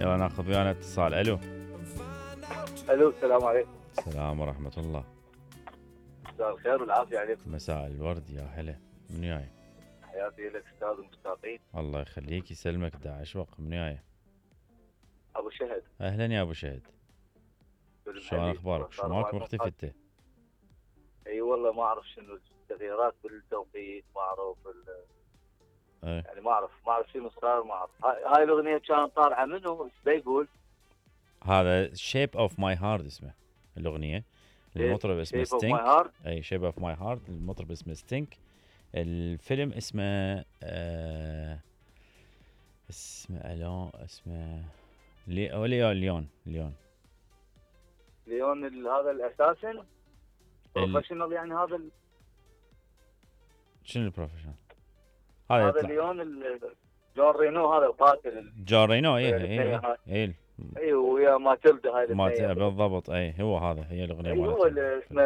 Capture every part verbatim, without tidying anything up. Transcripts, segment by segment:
يلا ناخذ ويانا اتصال. الو الو السلام عليكم. السلام ورحمة الله. مساء الخير والعافية عليكم. مساء الورد يا هلا. من جاي؟ حياتي لك استاذ المشتاقين. الله يخليك يسلمك. دا اشوق. من جاي؟ ابو شهد. اهلا يا ابو شهد. شلون اخبارك؟ شو ماك مختفي انت؟ اي والله ما اعرف شنو التغييرات بالتوقيت، ما اعرف ايه يعني ما اعرف ما اعرف شنو صار، ما اعرف. هاي, هاي الاغنيه كانت طالعه منه ايش بيقول؟ هذا شيب اوف ماي هارت اسمه الاغنيه. المطرب اسمه ستينك. اي شيب اوف ماي هارت. المطرب اسمه ستينك. الفيلم اسمه آه اسمه الون اسمه لي ليون ليون ليون ليون هذا الاساسن بروفيشنال يعني هذا ال... شنو البروفيشنال؟ هذا هذا ليون جون رينو هذا قاتل جون رينو. اي اي اي اي ويا ماتيلدا هاي ما بالضبط. اي هو هذا هي الاغنيه مالته. هو اسمه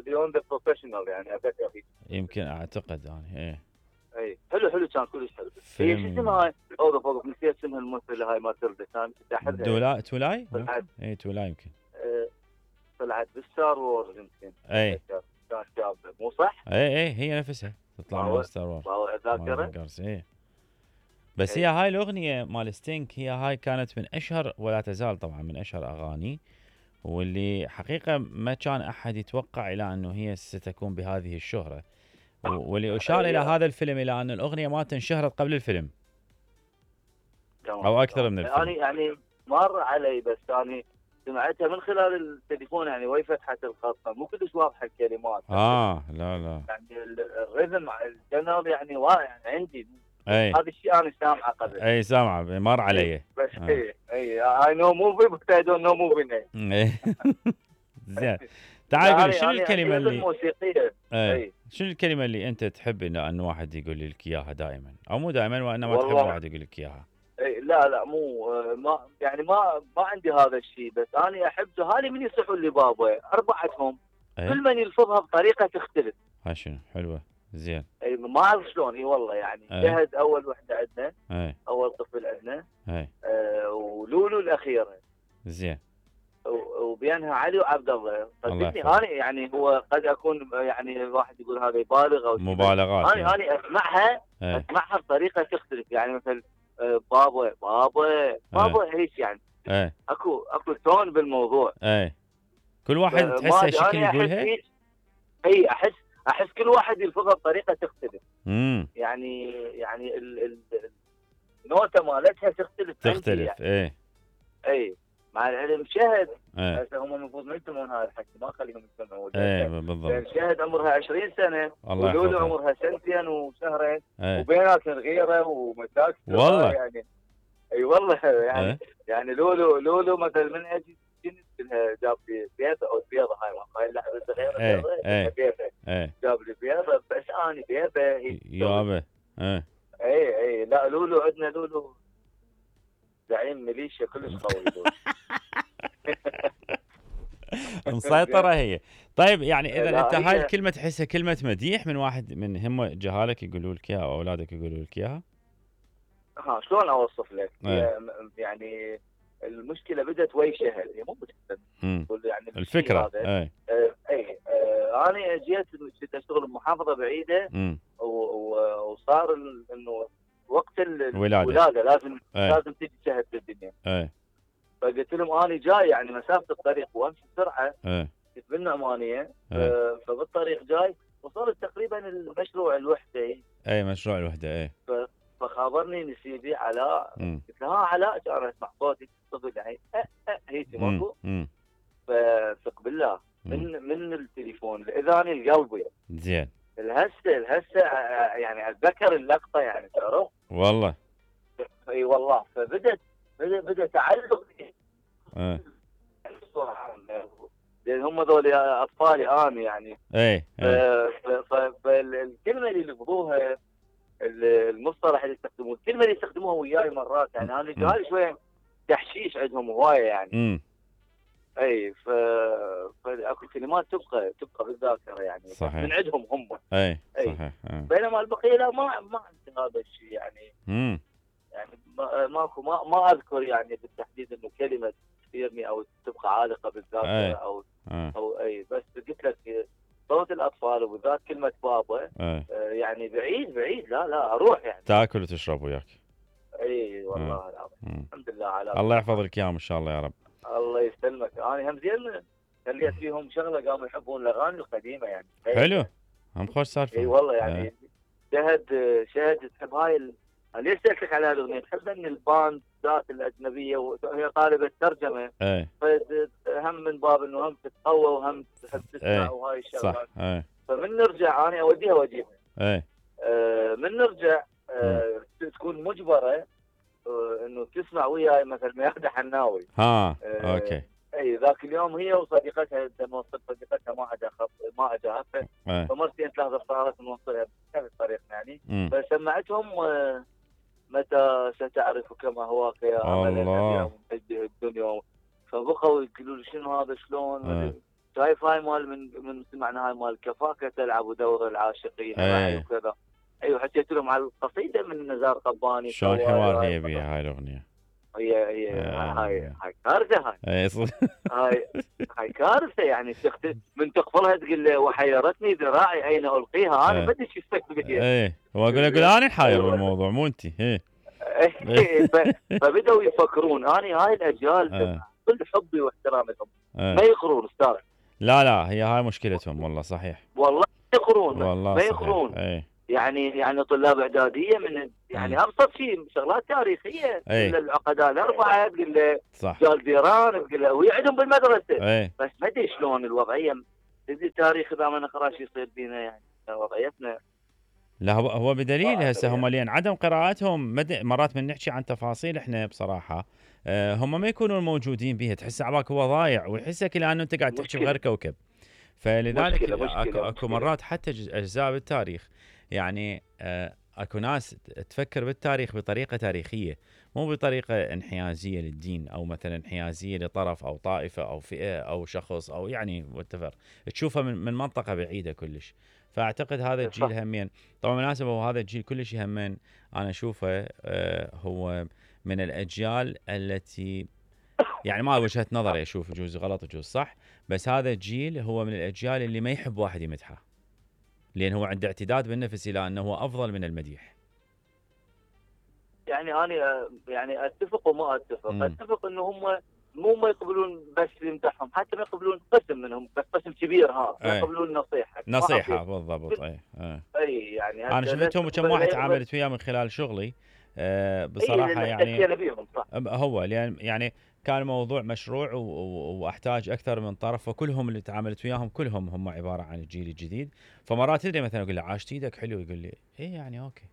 ليون ذا بروفيشنال يعني اتذكر يمكن اعتقد انا. اي اي حلو حلو كان كلش حلو. هي شو اسمها هاي؟ اوه فوق نسيت اسمها الممثله هاي ماتيلدا كانت تحدها دولا تولاي. اي تولاي يمكن طلعت بالستار وورز يمكن. اي كانت شابه مو صح؟ اي اي هي نفسها تطلع من ستار وورز. والله ذاكره. اي بس هي هاي الاغنيه مال ستينك هي هاي كانت من اشهر ولا تزال طبعا من اشهر اغاني، واللي حقيقه ما كان احد يتوقع الى انه هي ستكون بهذه الشهره، واللي اشار الى هذا الفيلم الى ان الاغنيه ما انشهرت قبل الفيلم او اكثر من الفيلم. يعني يعني مر علي بس ثاني سمعتها من خلال التليفون يعني وهي فتحت الخط مو كلش واضحه الكلمات. اه لا لا يعني الريذم الجنرال يعني واضح يعني عندي. اي هذا الشيء انا سامعه قبل. اي سامعه مر علي. بس اي اي اي نو موفي بس اي دونت نو موفي. زين تعال قول لي شنو الكلمه اللي الموسيقيه. اي شنو الكلمه اللي انت تحب ان واحد يقول لك اياها دائما او مو دائما وانما تحب واحد يقول لك اياها؟ اي لا لا مو ما يعني ما ما عندي هذا الشيء، بس انا احب هذه من يصحوا لي بابا اربعتهم أيه؟ كل من يلفظها بطريقه تختلف. ها شنو حلوه. زين. اي ما اعرف شلون. اي والله يعني أيه؟ شهد اول وحده عندنا. أيه؟ اول طفل عندنا. أيه؟ آه ولولو الاخيره. زين. وبينها علي وعبد الله. صدقني انا يعني هو قد اكون يعني الواحد يقول هذا يبالغ او مبالغات. انا يعني. انا اسمعها أيه؟ اسمعها بطريقه تختلف يعني مثلا بابا بابا بابا هيك يعني. ايه اكو اكو تون بالموضوع. ايه كل واحد تحسه شكل يقولها. اي احس احس كل واحد يلفظها بطريقه تختلف. امم يعني يعني ال ال النوته مالتها تختلف تختلف يعني. ايه اي مع العلم شهد ايه هم المفروض ما يسمعون هذا الحكي ما خليهم يسمعون. ايه بالضبط. شهد عمرها عشرين سنه ولولو عمرها سنتين وشهرين ايه. وبيناتهم غيره ومشاكل والله يعني. اي والله يعني ايه؟ يعني لولو لولو مثلا من اجي جنس جاب لي بيضه او بيضه هاي هاي اللعبه الصغيره. ايه ايه بيضه ايه جاب لي بيضه بس انا بيضه يابا. ايه اي اي لا لولو عندنا لولو زعيم ميليشيا كلش قوي. مسيطرة هي. طيب يعني اذا انت هاي الكلمة تحسها كلمة مديح من واحد من هم جهالك يقولوا لك اياها او اولادك يقولوا لك اياها؟ ها شلون اوصف لك؟ ايه. يعني المشكلة بدت وي شهد هي مو مشكلة يعني الفكرة. اي اي اه انا جيت كنت اشتغل بمحافظة بعيدة وصار انه وقت الولادة, الولادة لازم أي. لازم تجي شهد بالدنيا. اي فقلت لهم انا جاي يعني مسافة الطريق وامشي بسرعة. اي كنت بالنعمانية. آه فبالطريق جاي وصلت تقريبا المشروع الوحدة. اي مشروع الوحدة. اي فخابرني نسيبي علاء. قلت له ها علاء كان اسمع صوتي طفل يعني أه أه هيك ماكو. فثق بالله من من التليفون الاذاني القلب يعني. زين. الهسه الهسه يعني اتذكر اللقطه يعني تعرف. والله. اي والله فبدت بدا بدا تعلق. اه لان هم ذول اطفالي انا يعني. اي فالكلمه اللي لفظوها المصطلح اللي يستخدموه الكلمه اللي يستخدموها وياي مرات يعني انا جاي شويه تحشيش عندهم هوايه يعني. امم اي ف فاكو كلمات تبقى تبقى بالذاكره يعني. صحيح. من عندهم هم. اي صحيح. بينما البقيه لا ما ما عندي هذا الشيء يعني. امم يعني ماكو ما ما اذكر يعني بالتحديد انه كلمه تثيرني او تبقى عالقه بالذاكره او أي. او اي، بس قلت لك صوت الاطفال وبالذات كلمه بابا أي. آه يعني بعيد بعيد لا لا اروح يعني تاكل وتشرب وياك. اي والله العظيم الحمد لله على الله يحفظ لك اياهم ان شاء الله يا رب. الله يسلمك. انا هم زين خليت فيهم شغله قاموا يحبون الاغاني القديمه يعني. حلو هم خوش سالفه. اي والله يعني أه. شهد شهد تحب هاي ال... ليش سالتك على هالاغنيه؟ تحب ان الباند ذات الاجنبيه وهي طالبه ترجمه اي هم من باب انه هم تتقوى وهم تحب تسمع وهاي الشغلات. صح. اي فمن نرجع انا اوديها واجيبها. اي آه من نرجع آه تكون مجبره آه انه تسمع وياي مثلا ميادة حناوي. ها آه اوكي. اي ذاك اليوم هي وصديقتها نوصل صديقتها ما اجى ما اجاها فمرتين ثلاث صارت نوصلها بكذا طريق يعني. م. فسمعتهم آه متى ستعرف كما هواك يا الله الدنيا. فبقوا يقولوا لي شنو هذا شلون أه. شايف هاي مال من من سمعنا هاي مال كفاك تلعب دور العاشقين أه. وكذا. ايوه حكيت لهم على القصيده من نزار قباني. شلون حوار هي بيها هاي الاغنيه. هي هي أه. هاي هاي كارثه هاي. اي هاي هاي كارثه يعني تخت... من تقفلها تقول له وحيرتني ذراعي ايش القيها انا ما ادري ايش يستقبل فيها. اي واقول اقول انا حاير بالموضوع مو انت. اي فبداوا يفكرون اني هاي الاجيال كل حبي واحترامي لهم ما يقرون استاذ. لا لا هي هاي مشكلتهم والله صحيح. والله ما يقرون والله ما يقرون. اي. يعني يعني طلاب اعداديه من يعني ابسط شيء شغلات تاريخيه العقداء الاربعه تقول له جال ديران تقول له وهي عندهم بالمدرسه. أي. بس ما ادري شلون الوضعيه التاريخ اذا ما نقرا شو يصير بينا يعني وضعيتنا. لا هو هو بدليل هسه هم لين عدم قراءتهم مد... مرات من نحكي عن تفاصيل احنا بصراحه أه هم ما يكونون موجودين بها تحس عباك هو ضايع ويحسك لانه انت قاعد تحكي بغير كوكب. فلذلك مشكلة مشكلة اكو, مشكلة. أكو مرات حتى اجزاء بالتاريخ يعني أه اكو ناس تفكر بالتاريخ بطريقه تاريخيه مو بطريقه انحيازيه للدين او مثلا انحيازيه لطرف او طائفه او فئه او شخص او يعني واتفر تشوفها من, من منطقه بعيده كلش. فاعتقد هذا الجيل همين طبعا مناسبه وهذا الجيل كلش همين انا اشوفه أه هو من الاجيال التي يعني ما وجهه نظري اشوف يجوز غلط يجوز صح بس هذا الجيل هو من الاجيال اللي ما يحب واحد يمدحه لان هو عنده اعتداد بالنفس الى انه هو افضل من المديح. يعني انا يعني اتفق وما اتفق. م. اتفق انه هم مو ما يقبلون بس يمدحهم حتى ما يقبلون قسم منهم بس قسم كبير ها ما يقبلون نصيحه نصيحه بالضبط. اي اي يعني انا شفتهم كم واحد تعاملت وياه من خلال شغلي أه بصراحه يعني صح. هو لان يعني كان موضوع مشروع واحتاج اكثر من طرف وكلهم اللي تعاملت وياهم كلهم هم عباره عن الجيل الجديد. فمرات تدري مثلا اقول له عاشت ايدك حلو يقول لي ايه يعني اوكي.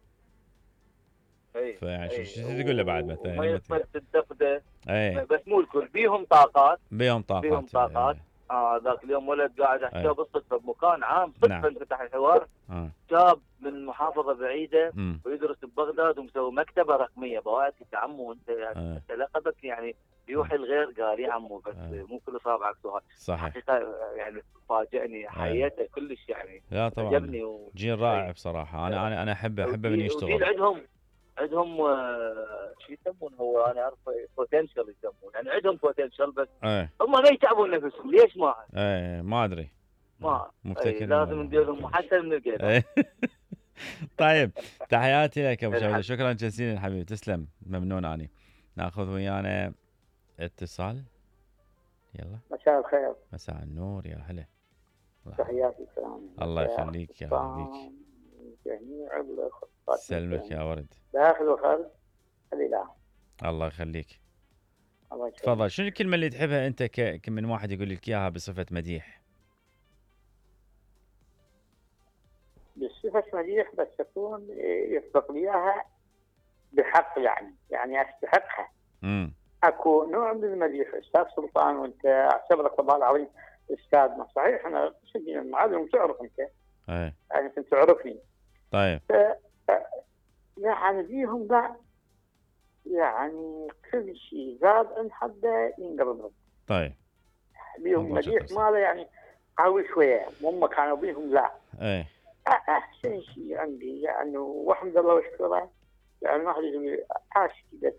اي فيعني شو تقول له بعد مثلا ما يقدر تنتقده اي بس مو الكل بيهم طاقات بيهم طاقات بيهم طاقات ايه. اه ذاك اليوم ولد قاعد احكي بالصدفه بمكان عام صدفه نعم. انفتح الحوار آه. شاب من محافظه بعيده م. ويدرس ببغداد ومسوي مكتبه رقميه بوائد يا عمو انت يعني آه. لقبك يعني يوحي الغير قال يا عمو بس آه. مو كل صابعك سؤال. صحيح حقيقه يعني فاجئني حياته آه. كلش يعني لا طبعا عجبني و... جيل رائع بصراحه. انا انا انا احب احب من يشتغل. عندهم عندهم شو يسمون هو انا اعرف بوتنشل يسمون يعني عندهم بوتنشل بس ايه. هم ما يتعبون نفسهم ليش ما ايه ما ادري ما ايه لازم ندير لهم محسن من القيد. ايه. طيب تحياتي لك ابو شهيده شكرا جزيلا حبيبي تسلم ممنون اني. ناخذ ويانا اتصال يلا. مساء الخير. مساء النور يا هلا. تحياتي السلام. الله يخليك يا حبيبي. جميع الاخوات سلمك يا ورد. داخل وخارج الاله. الله يخليك. الله يخليك. تفضل شنو الكلمه اللي تحبها انت ك... من واحد يقول لك اياها بصفه مديح؟ بصفه مديح بس تكون يسبق لي اياها بحق يعني يعني استحقها. امم اكو نوع من المديح استاذ سلطان وانت اعتبرك والله العظيم استاذنا صحيح انا سجن المعلم تعرف انت. ايه يعني كنت تعرفني. طيب ف... يعني فيهم لا يعني كل شيء زاد عن حده ينقرض. طيب بيهم مديح ماله يعني قوي شويه هم كانوا بيهم لا. ايه احسن شيء عندي يعني والحمد لله واشكره يعني ما حد يقول عاش كذا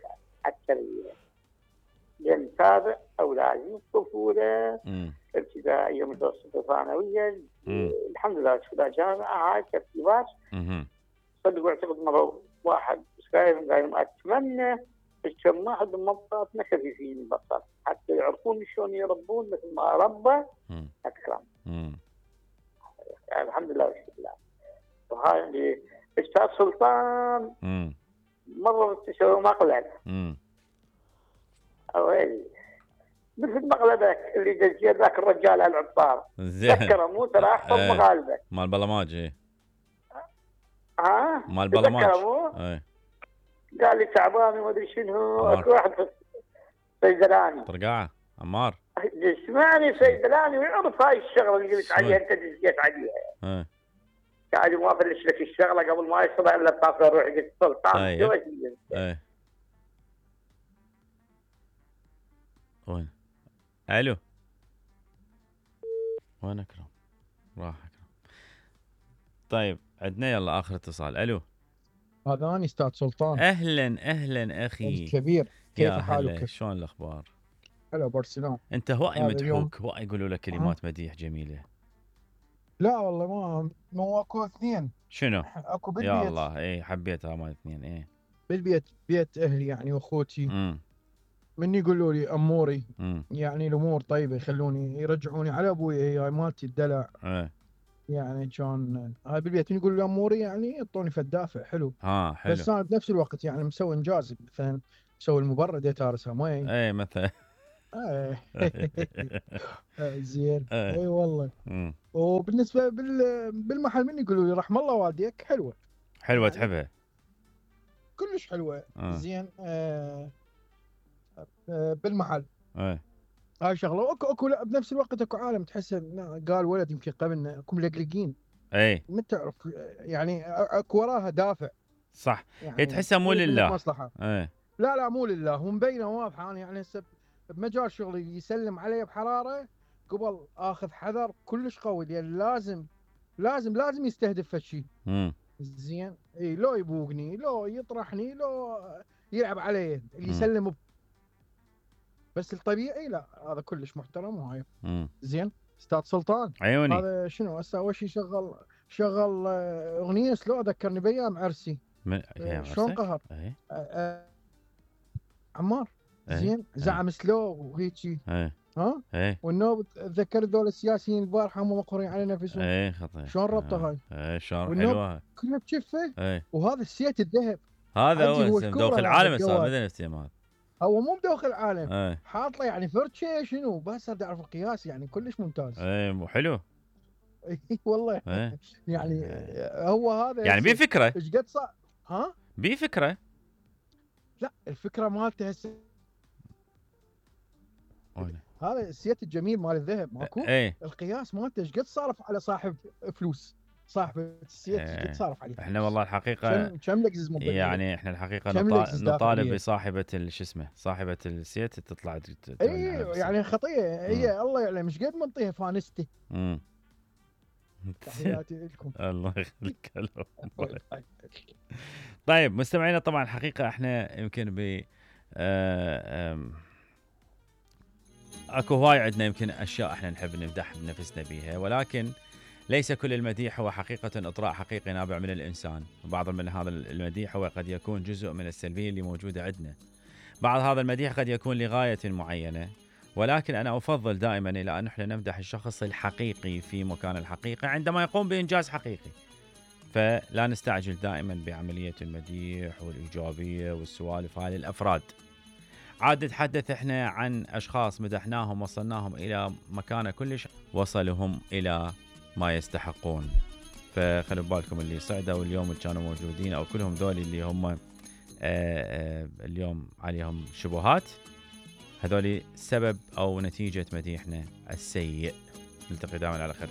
اتابع اولادي الطفوله ابتدائيه متوسطه ثانويه الحمد لله ادخل جامعه هاي ترتيبات. صدق واعتقد مره واحد شايف قايل اتمنى كم واحد من منطقتنا خفيفين بساط حتى يعرفون شلون يربون مثل ما ربى اكرم. يعني الحمد لله والشكر لله. وهاي اللي استاذ سلطان مره تسوي مقلب. اويلي مثل مقلبك اللي دزيه ذاك الرجال العطار. تذكره مو ترى احفظ مقالبك. مال بلماج ايه. ها؟ مال بلماج. ايه. قال لي تعبان وما ادري شنو اكو واحد صيدلاني. طرقاعه عمار. اسمعني صيدلاني ويعرف هاي الشغله اللي قلت عليها انت دزيت عليها. ايه. قاعد ما افلش لك الشغله قبل ما يصير الا بتاخذ روح قلت سلطان. ايه. ايه. وين؟ الو وين اكرم؟ راح اكرم. طيب عندنا يلا اخر اتصال. الو هذا اني استاذ سلطان. اهلا اهلا اخي الكبير كيف حالك؟ شلون الاخبار؟ هلا برسلان. انت هواي مدحوك هواي يقولوا لك كلمات مديح جميله. لا والله ما مو اكو اثنين. شنو؟ اكو بالبيت. يا الله اي حبيتها مال اثنين اي بالبيت بيت اهلي يعني واخوتي. امم من يقولوا لي اموري مم. يعني الامور طيبه يخلوني يرجعوني على ابوي هاي مالتي الدلع. ايه يعني كان هاي بالبيت من يقولوا لي اموري يعني يعطوني فدافع حلو. ها حلو. بس انا بنفس الوقت يعني مسوي انجاز مثلا مسوي المبرد تارسها مي. اي مثلا. ايه زين. اي اي والله. مم. وبالنسبه بالمحل من يقولوا لي رحم الله والديك حلوه. حلوه يعني تحبها؟ كلش حلوه. آه. زين. آه آه بالمحل. ايه هاي شغله واكو اكو لا بنفس الوقت اكو عالم تحس قال ولد يمكن قبلنا اكو ملقلقين. اي ما تعرف يعني اكو وراها دافع. صح. يعني تحسها مو لله. مصلحه. ايه لا لا مو لله ومبينه واضحه. انا يعني هسه بمجال شغلي يسلم علي بحراره قبل اخذ حذر كلش قوي لان لازم لازم لازم يستهدف هالشيء. امم زين. اي لو يبوقني لو يطرحني لو يلعب علي اللي يسلم ب... بس الطبيعي لا هذا كلش محترم وهاي. زين. استاذ سلطان عيوني هذا شنو هسه اول شيء شغل شغل اغنيه سلو ذكرني بايام عرسي. من شلون قهر. ايه أه عمار. ايه. زين. زعم ايه. سلو وهيجي. ايه. ها ايه. والنوب تذكر ذول السياسيين البارحه هم مقهورين على نفسهم. ايه خطير. شلون ربطه هاي؟ ايه شلون حلوه كلها بشفه. ايه. وهذا السيت الذهب هذا هو مدوخ العالم صار مثل نفسه. هو مو مدوخ العالم. ايه. حاط له يعني فرشه شنو بس اريد اعرف القياس يعني كلش ممتاز. ايه مو حلو. اي والله. ايه. يعني هو هذا يعني بيه فكره. ايش قد صار؟ ها؟ بيه فكره. لا الفكره مالته هسه هذا السيت الجميل مال الذهب ماكو؟ ايه. القياس مالته ايش قد صارف على صاحب فلوس صاحب السيت ايش قد صارف عليه؟ احنا والله الحقيقه كم لكزز موبايل يعني احنا الحقيقه نطالب, نطالب بصاحبه شو اسمه صاحبه السيت تطلع. اي يعني خطيه هي الله يعلم ايش قد منطيها فانستي. امم تحياتي لكم. الله يخليك. طيب مستمعينا طبعا الحقيقه احنا يمكن ب آه اكو هواي عندنا يمكن اشياء احنا نحب نمدح بنفسنا بيها ولكن ليس كل المديح هو حقيقة اطراء حقيقي نابع من الانسان. بعض من هذا المديح هو قد يكون جزء من السلبية اللي موجودة عندنا. بعض هذا المديح قد يكون لغاية معينة ولكن انا افضل دائما الى ان احنا نمدح الشخص الحقيقي في مكان الحقيقي عندما يقوم بانجاز حقيقي. فلا نستعجل دائما بعملية المديح والايجابية والسوالف هاي للافراد. عاد نتحدث احنا عن اشخاص مدحناهم وصلناهم الى مكانه كلش وصلهم الى ما يستحقون. فخلوا بالكم اللي صعدوا اليوم كانوا موجودين او كلهم ذول اللي هم آآ آآ اليوم عليهم شبهات هذول سبب او نتيجة مديحنا السيء. نلتقي دائما على خير.